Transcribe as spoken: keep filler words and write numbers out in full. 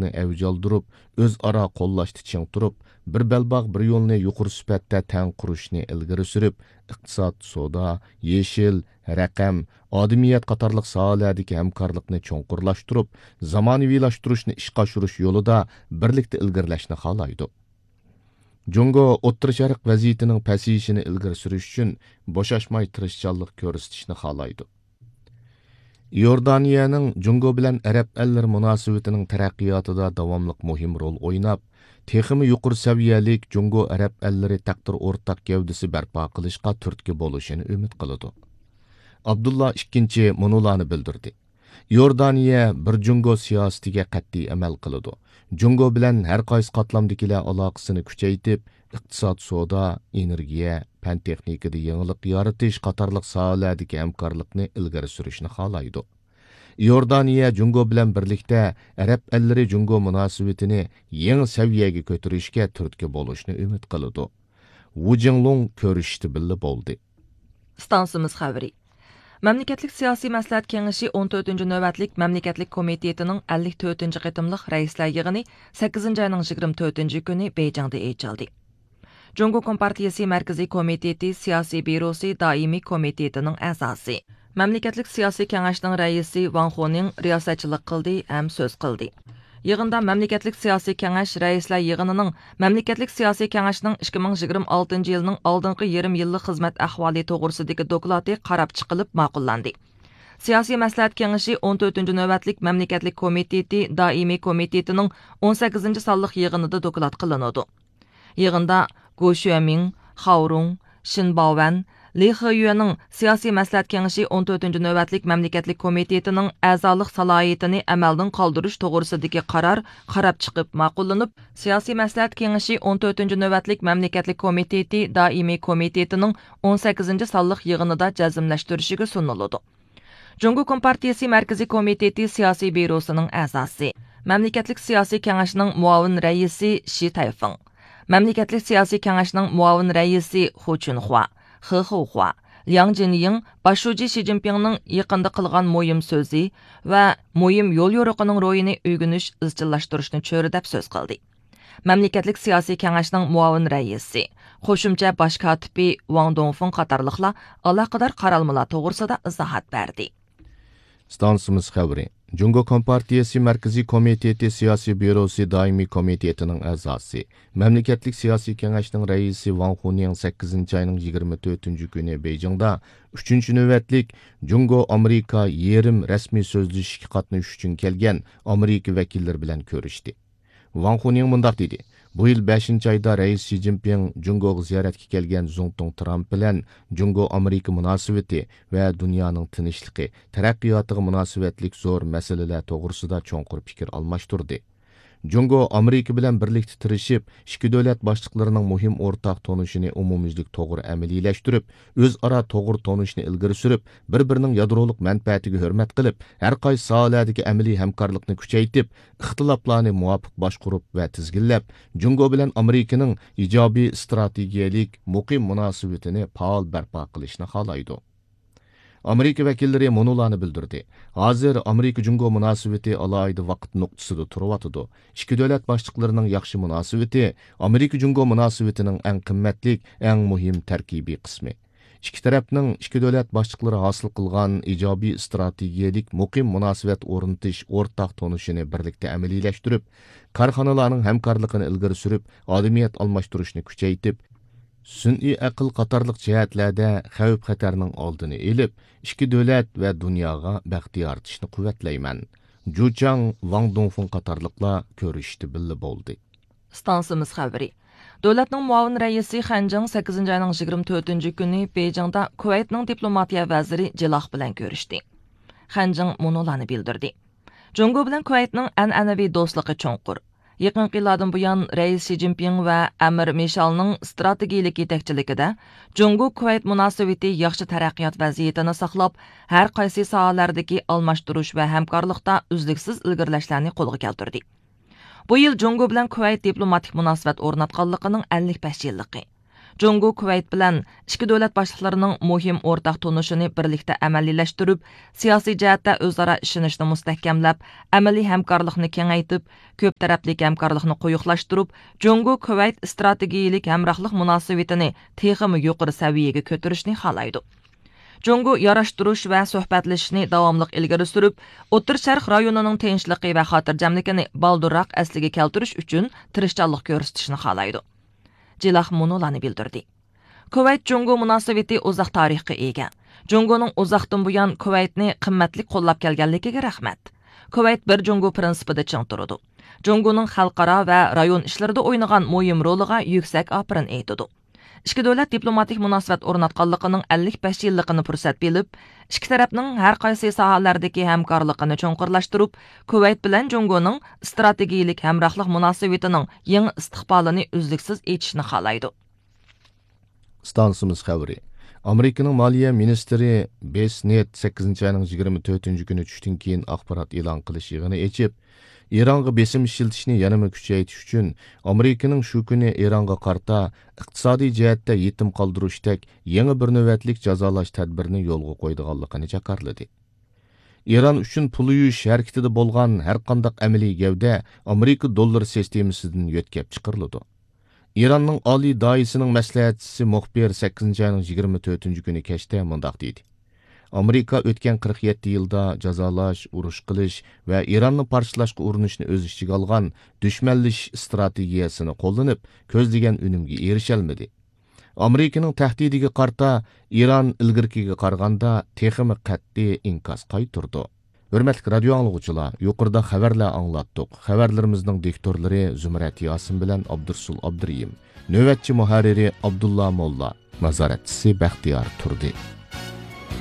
ئەۋج ئالدۇرۇپ، ئۆزئارا قوللاشتا چىڭ تۇرۇپ، بىر بەلباغ، بىر يولنى يۇقىرى سۈپەتتە تەڭ قۇرۇشنى ئىلگىرى سۈرۈپ، ئىقتىساد، سودا، يېشىل، رەقەم، ئادىمىيەت قاتارلىق ساھەلەردىكى ھەمكارلىقنى چوڭقۇرلاشتۇرۇپ، زامانىۋىلاشتۇرۇشنى ئىشقا ئاشۇرۇش يولىدا بىرلىكتە ئىلگىرىلەشنى خالايدۇ. جۇڭگو ئوتتۇرا شەرق ۋەزىيىتىنىڭ پەسىيىشىنى ئىلگىرى سۈرۈش ئۈچۈن بوشاشماي تىرىشچانلىق كۆرسىتىشنى خالايدۇ. ئىئوردانىيەنىڭ جۇڭگو بىلەن ئەرەب ئەللىرى مۇناسىۋىتىنىڭ تەرەققىياتىدا داۋاملىق مۇھىم رول ئويناپ، تېخىمۇ يۇقىرى سەۋىيەلىك جۇڭگو ئەرەب ئەللىرى تەقدىر ئورتاق گەۋدىسى بەرپا قىلىشقا تۈرتكە بولۇشىنى ئۈمىد قىلىدۇ. ئابدۇللا ئىككىنچى مۇنۇلارنى بىلدۈردى. ئىئوردانىيە بىر جۇڭگو سىياسىتىگە قەتئىي ئەمەل قىلىدۇ. جۇڭگو بىلەن ھەر قايسى قاتلامدىكىلەر ئالاقىسىنى كۈچەيتىپ، ئىقتىساد، سودا، ئېنېرگىيە، پەن تېخنىكىدا يېڭىلىق يارىتىش قاتارلىق ساھەلەردىكى ھەمكارلىقنى ئىلگىرى سۈرۈشنى خالايدۇ. ئىئوردانىيە جۇڭگو بىلەن بىرلىكتە ئەرەب ئەللىرى جۇڭگو مۇناسىۋىتىنى يېڭى سەۋىيەگە كۆتۈرۈشكە تۈرتكە بولۇشنى ئۈمىد قىلىدۇ. ۋۇ جىڭلۇڭ كۆرۈشۈشتە بىللە بولدى. ئىستانسىمىز خەۋىرى. مەملىكەتلىك سىياسىي مەسلىھەت كېڭىشى ئون تۆتىنچى نۆۋەتلىك مەملىكەتلىك كومىتېتىنىڭ ئەللىك تۆتىنچى قېتىملىق رەئىسلەر يىغىنى سەككىزىنچى ئاينىڭ يىگىرمە تۆتىنچى كۈنى بېيجىڭدا ئېچىلدى. جۇڭگو كومپارتىيىسى مەركىزىي كومىتېتى سىياسىي بيۇروسى دائىمىي كومىتېتىنىڭ ئەزاسى، مەملىكەتلىك سىياسىي كېڭەشنىڭ رەئىسى ۋاڭ خۇنىڭ رىياسەتچىلىك قىلدى ھەم سۆز قىلدى. يىغىندا مەملىكەتلىك سىياسىي كېڭەش رەئىسلەر يىغىنىنىڭ مەملىكەتلىك سىياسىي كېڭەشنىڭ ئىككى مىڭ يىگىرمە ئالتىنچى يىلنىڭ ئالدىنقى يېرىم يىللىق خىزمەت ئەھۋالى توغرىسىدىكى دوكلاتى قاراپ چىقىلىپ ماقۇللاندى. سىياسىي مەسلىھەت كېڭىشى ئون تۆتىنچى نۆۋەتلىك مەملىكەتلىك كومىتېتى دائىمىي كومىتېتىنىڭ ئون سەككىزىنچى سانلىق يىغىنىدا دوكلات قىلىنىدۇ. يىغىندا گو شۈەمىڭ، خاۋ رۇڭ، شىن باۋەن، لى خېيۈەنىڭ سىياسىي مەسلىھەت كېڭىشى ئون تۆتىنچى نۆۋەتلىك مەملىكەتلىك كومىتېتىنىڭ ئەزالىق سالاھىيىتىنى ئەمەلدىن قالدۇرۇش توغرىسىدىكى قارار قاراپ چىقىپ ماقۇللىنىپ، سىياسىي مەسلىھەت كېڭىشى ئون تۆتىنچى نۆۋەتلىك مەملىكەتلىك كومىتېتى دائىمىي كومىتېتىنىڭ ئون سەككىزىنچى سانلىق يىغىنىدا جەزملەشتۈرۈشىگە سۇنۇلىدۇ. جۇڭگو كومپارتىيىسى مەركىزىي كومىتېتى سىياسىي بيۇروسىنىڭ ئەزاسى، مەملىكەتلىك سىياسىي كېڭەشنىڭ مۇئاۋىن رەئىسى شى تەيفېڭ، مەملىكەتلىك سىياسىي كېڭەشنىڭ مۇئاۋىن رەئىسى خۇ چۈنخۇا، خې خېۋخۇا، لياڭ جىنيىڭ باش شۇجى شى جىنپىڭنىڭ يېقىندا قىلغان مۇھىم سۆزى ۋە مۇھىم يوليورۇقىنىڭ روھىنى ئۆگىنىش، ئىزچىللاشتۇرۇشنى چۆرىدەپ سۆز قىلدى. مەملىكەتلىك سىياسىي كېڭەشنىڭ مۇئاۋىن رەئىسى، قوشۇمچە باش كاتىپى ۋاڭ دۇڭفېڭ قاتارلىقلار ئالاقىدار قارالمىلار توغرىسىدا ئىزاھات بەردى. ئىستانسىمىز خەۋىرى. جۇڭگو كومپارتىيىسى مەركىزىي كومىتېتى سىياسىي بيۇروسى دائىمىي كومىتېتىنىڭ ئەزاسى، مەملىكەتلىك سىياسىي كېڭەشنىڭ رەئىسى ۋاڭ خۇنىڭ سەككىزىنچى ئاينىڭ يىگىرمە تۆتىنچى كۈنى بېيجىڭدا ئۈچىنچى نۆۋەتلىك جۇڭگو ئامېرىكا يېرىم رەسمىي سۆزلىشىشكە قاتنىشىش ئۈچۈن كەلگەن ئامېرىكا ۋەكىللىرى بىلەن كۆرۈشتى. ۋاڭ خۇنىڭ مۇنداق دېدى، بۇ يىل بەشىنچى ئايدا رەئىس شى جىنپىڭ جۇڭگوغا زىيارەتكە كەلگەن زۇڭتۇڭ ترامپ بىلەن جۇڭگو ئامېرىكا مۇناسىۋىتى ۋە دۇنيانىڭ تىنچلىقى، تەرەققىياتىغا مۇناسىۋەتلىك زور مەسىلىلەر توغرىسىدا چوڭقۇر پىكىر ئالماشتۇردى. جۇڭگو ئامېرىكا بىلەن بىرلىكتە تىرىشىپ، ئىككى دۆلەت باشلىقلىرىنىڭ مۇھىم ئورتاق تونۇشىنى ئومۇميۈزلۈك توغرا ئەمەلىيلەشتۈرۈپ، ئۆزئارا توغرا تونۇشنى ئىلگىرى سۈرۈپ، بىر-بىرىنىڭ يادرولۇق مەنپەئەتىگە ھۆرمەت قىلىپ، ھەر قايسى ساھەلەردىكى ئەمەلىي ھەمكارلىقنى كۈچەيتىپ، ئىختىلاپلارنى مۇۋاپىق باشقۇرۇپ ۋە تىزگىنلەپ، جۇڭگو بىلەن ئامېرىكىنىڭ ئىجابىي ئىستراتېگىيەلىك مۇقىم مۇناسىۋىتىنى پائال بەرپا قىلىشنى خالايدۇ. ئامېرىكا ۋەكىللىرى مۇنۇلارنى بىلدۈردى، ھازىر ئامېرىكا جۇڭگو مۇناسىۋىتى ئالاھىدە ۋاقىت نۇقتىسىدا تۇرۇۋاتىدۇ. ئىككى دۆلەت باشلىقلىرىنىڭ ياخشى مۇناسىۋىتى ئامېرىكا جۇڭگو مۇناسىۋىتىنىڭ ئەڭ قىممەتلىك، ئەڭ مۇھىم تەركىبىي قىسمى. ئىككى تەرەپنىڭ ئىككى دۆلەت باشلىقلىرى ھاسىل قىلغان ئىجابىي ئىستراتېگىيەلىك مۇقىم مۇناسىۋەت ئورنىتىش ئورتاق تونۇشىنى بىرلىكتە ئەمەلىيلەشتۈرۈپ، كارخانىلارنىڭ ھەمكارلىقىنى ئىلگىرى سۈرۈپ، ئادىمىيەت ئالماشتۇرۇشنى كۈچەيتىپ، سۈنئىي ئەقىل قاتارلىق جەھەتلەردە خەۋپ-خەتەرنىڭ ئالدىنى ئېلىپ، ئىككى دۆلەت ۋە دۇنياغا بەخت يارىتىشنى قۇۋۋەتلەيمەن. جۇچاڭ، ۋاڭ دۇڭفېڭ قاتارلىقلار كۆرۈشۈشتە بىللە بولدى. ئىستانسىمىز خەۋىرى. دۆلەتنىڭ مۇئاۋىن رەئىسى خەنجىڭ سەككىزىنچى ئاينىڭ يىگىرمە تۆتىنچى كۈنى بېيجىڭدا كۇۋەيتنىڭ دىپلوماتىيە ۋەزىرى جىلاخ بىلەن كۆرۈشتى. خەنجىڭ مۇنۇلارنى بىلدۈردى. جۇڭگو بىلەن كۇۋەيتنىڭ ئەنئەنىۋى دوستلۇقى چوڭقۇر. يېقىنقى يىللاردىن بۇيان، رەئىس شى جىنپىڭ ۋە ئەمىر مىشالنىڭ ئىستراتېگىيىلىك يېتەكچىلىكىدە جۇڭگو كۇۋەيت مۇناسىۋىتى ياخشى تەرەققىيات ۋەزىيىتىنى ساقلاپ، ھەر قايسى ساھەلەردىكى ئالماشتۇرۇش ۋە ھەمكارلىقتا ئۈزلۈكسىز ئىلگىرىلەشلەرنى قولغا كەلتۈردى. بۇ يىل جۇڭگو بىلەن كۇۋەيت دىپلوماتىك مۇناسىۋەت ئورناتقانلىقىنىڭ ئەللىك بەش يىللىقى. جۇڭگو كۇۋەيت بىلەن ئىككى دۆلەت باشلىقلىرىنىڭ مۇھىم ئورتاق تونۇشىنى بىرلىكتە ئەمەلىيلەشتۈرۈپ، سىياسىي جەھەتتە ئۆزئارا ئىشىنىشنى مۇستەھكەملەپ، ئەمەلىي ھەمكارلىقنى كېڭەيتىپ، كۆپ تەرەپلىك ھەمكارلىقنى قويۇقلاشتۇرۇپ، جۇڭگو كۇۋەيت ئىستراتېگىيىلىك ھەمراھلىق مۇناسىۋىتىنى تېخىمۇ يۇقىرى سەۋىيەگە كۆتۈرۈشنى خالايدۇ. جۇڭگو ياراشتۇرۇش ۋە سۆھبەتلىشىشنى داۋاملىق ئىلگىرى سۈرۈپ، ئوتتۇرا شەرق رايونىنىڭ تىنچلىقى ۋە خاتىرجەملىكىنى بالدۇرراق ئەسلىگە كەلتۈرۈش ئۈچۈن تىرىشچانلىق كۆرسىتىشنى خالايدۇ. جىلاخ مۇنۇلارنى بىلدۈردى. كۇۋەيت جۇڭگو مۇناسىۋىتى ئۇزاق تارىخقا ئىگە. جۇڭگونىڭ ئۇزاقتىن بۇيان كۇۋەيتنى قىممەتلىك قوللاپ كەلگەنلىكىگە رەھمەت. كۇۋەيت بىر جۇڭگو پىرىنسىپىدا چىڭ تۇرىدۇ. جۇڭگونىڭ خەلقئارا ۋە رايون ئىشلىرىدا ئوينىغان مۇھىم رولىغا يۈكسەك ئاپىرىن ئېيتىدۇ. ئىككى دۆلەت دىپلوماتىك مۇناسىۋەت ئورناتقانلىقىنىڭ ئەللىك بەش يىللىقىنى پۇرسەت بىلىپ، ئىككى تەرەپنىڭ ھەر قايسى ساھەلەردىكى ھەمكارلىقىنى چوڭقۇرلاشتۇرۇپ، كۇۋەيت بىلەن جۇڭگونىڭ ئىستراتېگىيىلىك ھەمراھلىق مۇناسىۋىتىنىڭ يېڭى ئىستىقبالىنى ئۈزلۈكسىز ئېچىشنى خالايدۇ. ئىستانسىمىز خەۋىرى. ئامېرىكىنىڭ مالىيە مىنىستىرى بېس نېت سەككىزىنچى ئاينىڭ يىگىرمە تۆتىنچى كۈنى چۈشتىن كېيىن ئاخبارات ئېلان قىلىش يىغىنى ئېچىپ، ئىرانغا بېسىم ئىشلىتىشنى يەنىمۇ كۈچەيتىش ئۈچۈن ئامېرىكىنىڭ شۇ كۈنى ئىرانغا قارىتا ئىقتىسادىي جەھەتتە يېتىم قالدۇرۇشتەك يېڭى بىر نۆۋەتلىك جازالاش تەدبىرىنى يولغا قويىدىغانلىقىنى جاكارلىدى. ئىران ئۈچۈن پۇل يۇيۇش ھەرىكىتىدە بولغان ھەرقانداق ئەمەلىي گەۋدە ئامېرىكا دوللىرى سىستېمىسىدىن يۆتكەپ چىقىرىلىدۇ. ئىراننىڭ ئالىي دائىسىنىڭ مەسلىھەتچىسى مۇخبىر سەككىزىنچى ئاينىڭ يىگىرمە تۆتىنچى كۈنى كەچتە مۇنداق دېدى: ئامېرىكا ئۆتكەن قىرىق يەتتە يىلدا جازالاش، ئۇرۇش قىلىش ۋە ئىراننى پارچىلاشقا ئۇرۇنۇشنى ئۆز ئىچىگە ئالغان دۈشمەنلىشىش ئىستراتېگىيەسىنى قوللىنىپ، كۆزلىگەن ئۈنۈمگە ئېرىشەلمىدى. ئامېرىكىنىڭ تەھدىتىگە قارىتا ئىران ئىلگىرىكىگە قارىغاندا تېخىمۇ قەتئىي ئىنكاس قايتۇرىدۇ. ھۆرمەتلىك رادىيو ئاڭلىغۇچىلار، يۇقىرىدا خەۋەرلەر ئاڭلاتتۇق. خەۋەرلىرىمىزنىڭ دىكتورلىرى زۇمرەت ياسىن بىلەن ئابدۇرسۇل ئابدۇرېھىم. نۆۋەتچى مۇھەررىرى ئابدۇللا موللا. نازارەتچىسى بەختىيار تۇردى.